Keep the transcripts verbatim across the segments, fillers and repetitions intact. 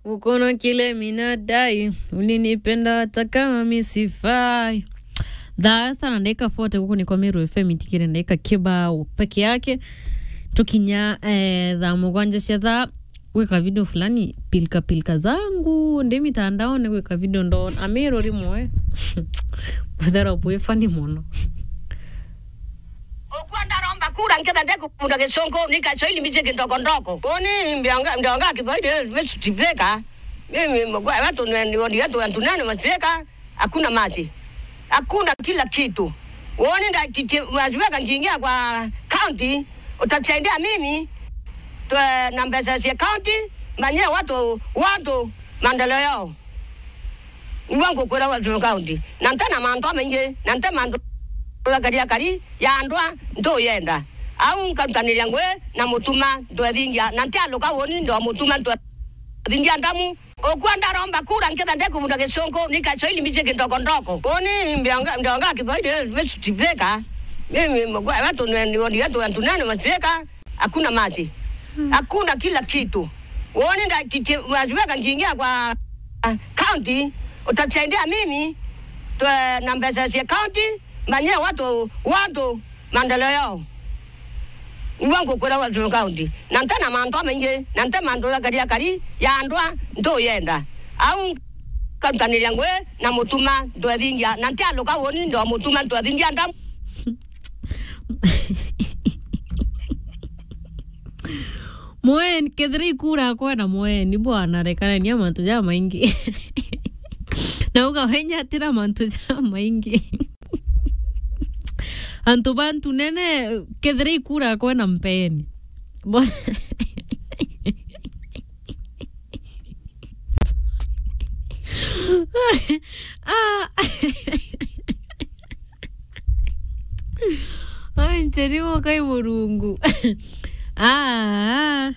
Uko na kile mi nadai, ulinipenda hata kama mi sifai. Thaa sana dakika forty guku ni kwa Meru F M itikire dakika kibao peke yake. Tukinya, eh, thaa mugwanja cia thaa, gwika video fulani, pilka pilka zangu, ndi mitandaone gwika video ndona. Ameru rimwe. Buthera bwi funny muno. Ukwa ndaromba kura nketha ndekubunda gicongo, ni Kiswahili mbiji kindoko ndoko. Uni mbionga, mbionga Kiswahili, eh, best speaker. Mimi mgwa watu ni, ni wodi yetu watu nane maspika, hakuna maji. Hakuna kila kitu. Uone nda ki-, ki-, maspika nkiingia kwa county, utasaidia mimi, twe na mbeca cia county, manye watu, watu maendeleo yao. Niguo ngukwira wa Meru County. Na nte na mantu amaingi, na nte mantu akari akari ya andwa ntuyenda. Au nkarutaniria ngui na mutuma ntwethingia, na nte aluka woni ndo mutuma ntwethingia ndamu. Ukwa ndaromba kura nketha ndekubunda gicongo, ni Kiswahili mbiji kindoko ndoko. Uni mbionga, mbionga Kiswahili, eh, best speaker. Mimi mgwa watu ni, ni wodi yetu watu nane maspika. Hakuna maji. Hakuna kila kitu. Uone nda ki-, ki-, maspika nkiingia kwa, ah, county, utasaidia mimi, twe na mbeca cia county, manye watu, watu maendeleo yao. Niguo ngukwira wa Meru County. Na nte na mantu amaingi, na nte mantu akari akari ya andwa ntuyenda. Au nkarutaniria ngui na mutuma ntwethingia, na nte aluka woni ndo mutuma ntwethingia ndamu. Mweni, kethira ikura kwenda mweni, bwana, rekanania mantu jamaingi. Na uga wenya atira mantu jamaingi. Antu bantu nene, kethira ikura kwenda mpeni. Bwana. Ah. Ai, ncheri mokai Murungu. Ah.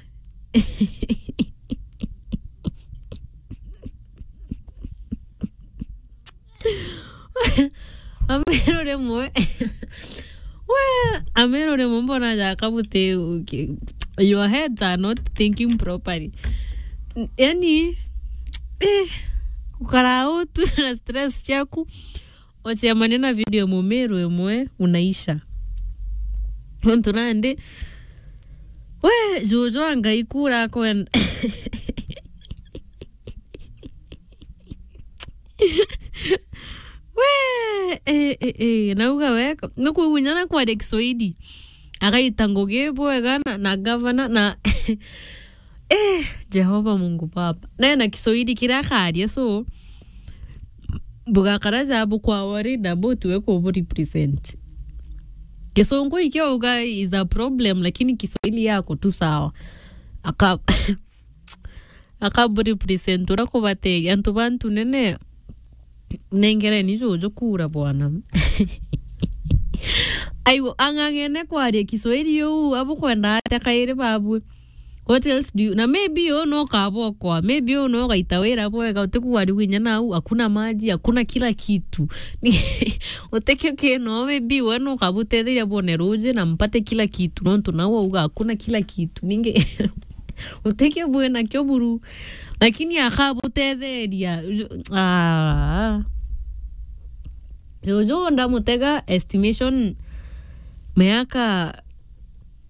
Ameru rimwe. We, Ameru rimwe mbona jaka buti, your heads are not thinking properly. Yani, eh, ukara utu na stress ciaku, ucemania na video Mumeru imwe, unaisha. Nontu nandi, we, juju anga ikura kwenda. We, eh, eh, eh, nauga weka. Nukuigunya na kwaria Kiswahili. Agaita ngugi bwega na, na gavana na, eh, Jehova Mungu Baba. Naye na Kiswahili kiria akaria, so, bugakara ja bukwa worried about we kubu represent. Kisungu ikio uga is a problem, lakini Kiswahili yako tu sawa. Aka-, Akabu represent uria kubateria antu bantu nene. Nengereni juju kura bwana. Aigu, ang'ang'ene kwaria Kiswahili uu, abukwenda atia kairi babwe? What else do you, na maybe uu no kabokwa, maybe uu no gaita wira bwega, utikugwari winya nau, hakuna maji, hakuna kila kitu. Utikio kino, maybe we no kabutetheria bone ruji na mpate kila kitu, nontu nau auga hakuna kila kitu. Ningi, utikio bwinakio buru, lakini akabutetheria. Ah. Juju ndamutega estimation miaka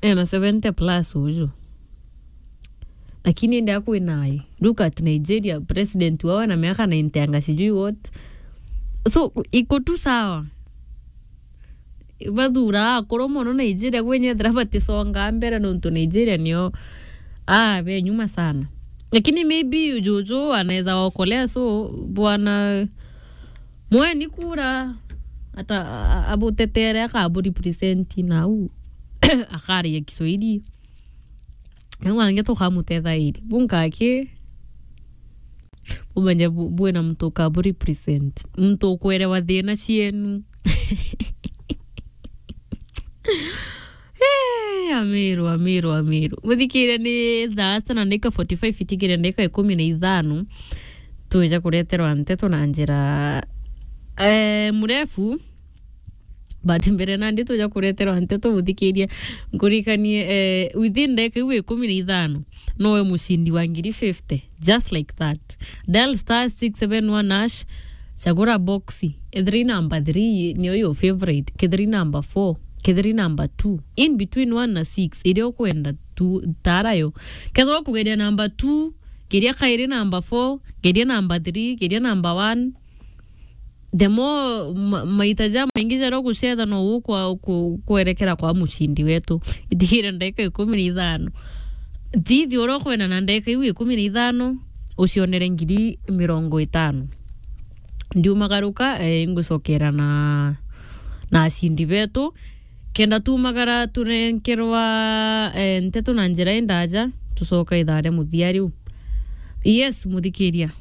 ena seventy plus uju. Lakini ende akwinaye. Look at Nigeria, president wao na miaka ninety anga sijui what. So, iko tu sawa. Bathura akuru mono Nigeria, gwe nyethira batisonga mbere nontu Nigeria nio, ah, be nyuma sana. Lakini maybe juju anaweza okolea, so bwana mweni kura ata a-, a-, abutetere akabu represent nau akaria Kiswahili. Nau angi tukamutethairi. Bunkaki Umanye bu-, bwina muntu ukabu represent. Muntu ukwerewa thina cienu. Eh, Ameru, Ameru, Ameru. Muthikire ni thaa sita na ndagika forty-five itigire ndagika ikumi na ithano. Twija kureterwa nteto na njira, eh, murefu. But mbere nandi tuja kureterwa nteto, muthikiria, nkurikanie, eh, within ndagika iu ikumi na ithano, nowe mucindi wa ngiri fifty, just like that. Dial star six seven one hash, chagura boxi. Ethiri number three niyo your favorite, kethiri number four, kethiri number two. In between one na six, iria ukwenda tu, tara yo. Kethira ukugeria number two, geria kairi number four, geria number three, geria number one. The more ma-, maita ja maingi jaria ugucetha no ukwa-, ku-, kwerekera kwa mucindi wetu. Itigire ndagika ikumi na ithano. Thithi uria ukwenda na ndagika iu ikumi na ithano, ucionere ngiri mirongo itano. Ndiumagaruka, eh, ngucokera na, na acindi betu. Kenda tumagara turenkerwa, eh, nteto na njira indaja, tucoka ithaa ria muthia riu. Yes, muthikiria.